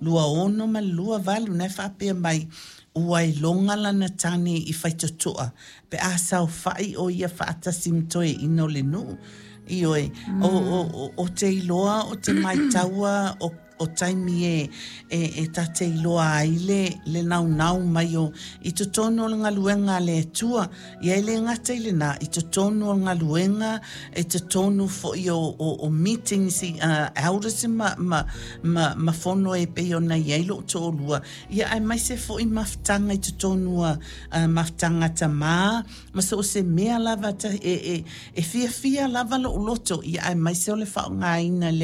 3, 26 ma le 28, na e faapea mai, ua iloga lana tane i faitotoa pe a saofa'i o ia faatasi ma toeaina o le nuu. Ioe, o te iloa o te maitaua o taimi e ta te iloa ai le naunau mai o i totonu o le galuega a le Atua. Ia e le gata i lena, i totonu o le galuega, e totonu foi o meetings, elders ma fono e pei ona i ai lou toalua. Ia aemaise foi mafutaga i totonu o mafutaga tamā, ma so o se mea lava e fiafia lava lou loto, ia aemaise o le faaaogaina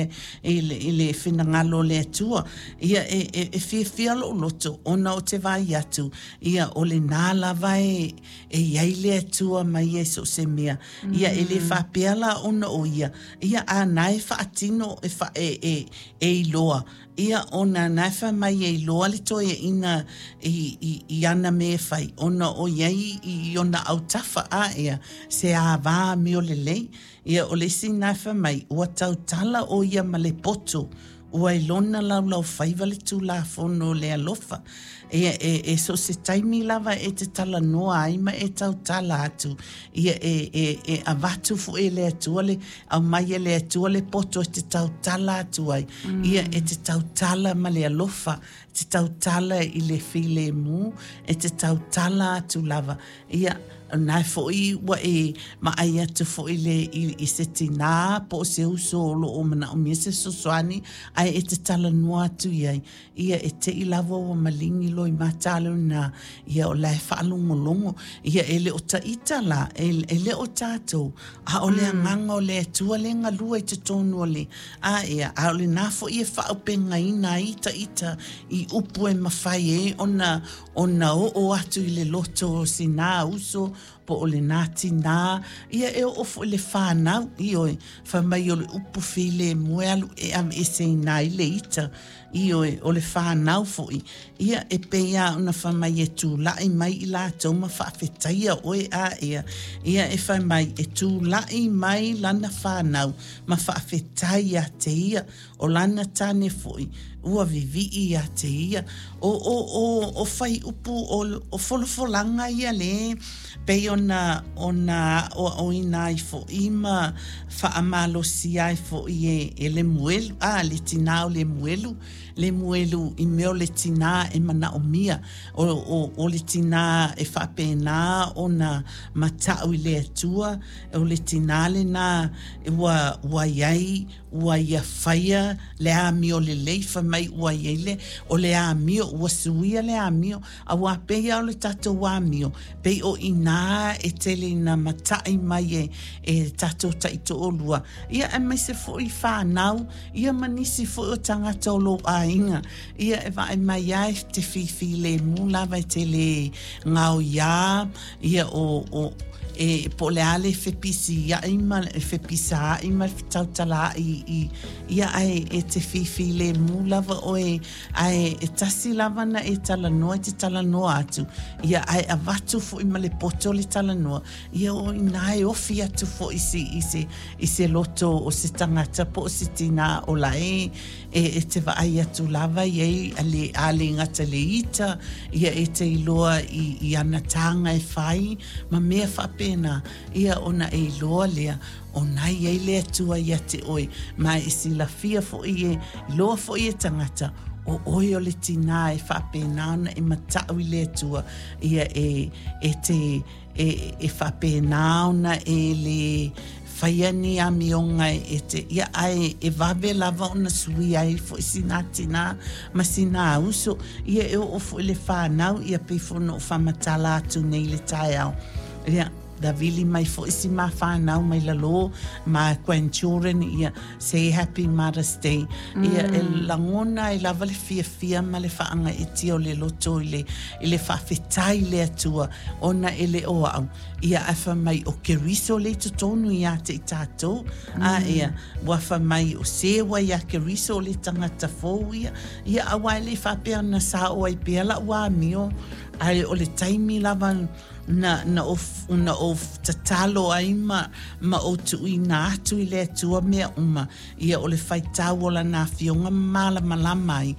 i le finagalo o le Atua. Ia e fiafia lou loto ona o te vaai atu, ia o lena lava e i ai le Atua ma ia i so o se mea. Ia e le faapea la ona o ia, ia a na e faatino e, fa, e, e, e iloa, ia ona na e fai mai e iloa le toeaina i ana mea e fai, ona o iai i ona autafa a ea se ava amio lelei. Ia o le isi na e fai mai, ua tautala o ia ma le poto, ua ilona laulau faiva le tulafono o le alofa. Ia e so o se taimi lava e te talanoa ai ma e tautala atu, ia e avatu foi e le Atua le aumai e le Atua le poto e te tautala atu ai. Ia e te tautala ma le alofa, te tautala i le filemu, e te tautala atu lava. Ia na foi ua e maai atu foi le i se tinā po o se uso o lo o manaomia se fesoasoani ae e te talanoa atu i ai. Ia e te i lava ua maligi loi matalo na, ia o la e faalogologo. Ia e le o taita la, e le o tatou, a o le agaga o le Atua le galua i totonu o le a ia, a o lena foi e faaupegaina ai ita i upu e mafai ai ona oo atu i le loto o sina uso po o lena tinā, ia e oo foi le whānau, ioe, fai mai o le upu filemu e alu e aveeseina ai le ita, ioe, o le whānau foi, ia e pei a ona fai mai e tula'i mai i latou ma faafetaia oe a ea, ia e fai mai e tula'i mai lana whānau ma faafetai ia te ia, o lana tane foi, ua vivii ia te ia. O fai upu o folafolaga ia le pei ona aoaoina ai foi ma faamalosia ai foi e Lemuelu, a le tinā o Lemuelu, Lemuelu i mea o le tinā e manaomia, o le tinā e faapena ona mata'u i le Atua, o le tinā lena ua iai ua ia faia le amio lelei, fai mai ua iai le o le amio ua suia le amio, auā pei a o le tatou amio pei o inā e tele ina mata'i mai e tatou taitoalua, ia aemaise foi whānau, ia ma nisi foi o tagata o lou aiga, ia e vaai mai ai te fifilemu lava e te le gaoiā, ia o e po o le a le fepisia'i ma e fepisaa'i ma le fetautala'i i ia ae e te fifilemu lava oe ae e tasi lava na e talanoa e te talanoa atu, ia ae avatu foi ma le poto le talanoa, ia o ina e ofi atu foi si i se loto o se tagata po o se tinā o la e te vaai atu lava i ai a le a le gata le ita, ia e te iloa i ana tāga e fai ma mea faapena, ia ona e iloa lea o nai ai le Atua ia te oe ma e silafia foi e iloa foi e tagata o oe o le tinā e faapena ona e mata'u i le Atua, ia e te e faapena ona e le faia ni amioga e te ia ae e vave lava ona sui ai foi sina tinā ma sina uso, ia e oo foi le whānau, ia pei foi ona ou faamatala atu nei le taeao, ia na vili mai foi si ma whānau mai lalo ma grandchildren, ia say Happy Mother's Day, ia e lagona ai lava le fiafia ma le faagaeetia o le loto i le faafetai i le Atua ona e le o a'u, ia ae fai mai o Keriso le i totonu iā te i tatou a ia ua fai mai o se ua iā Keriso o le tagata fou ia, ia auā e le faapea ona sao ai pea la'u amio ae o le taimi lava na o tatalo ai ma o tuuina atu i le Atua mea uma, ia o le faitau o lana afioga ma malamalama ai.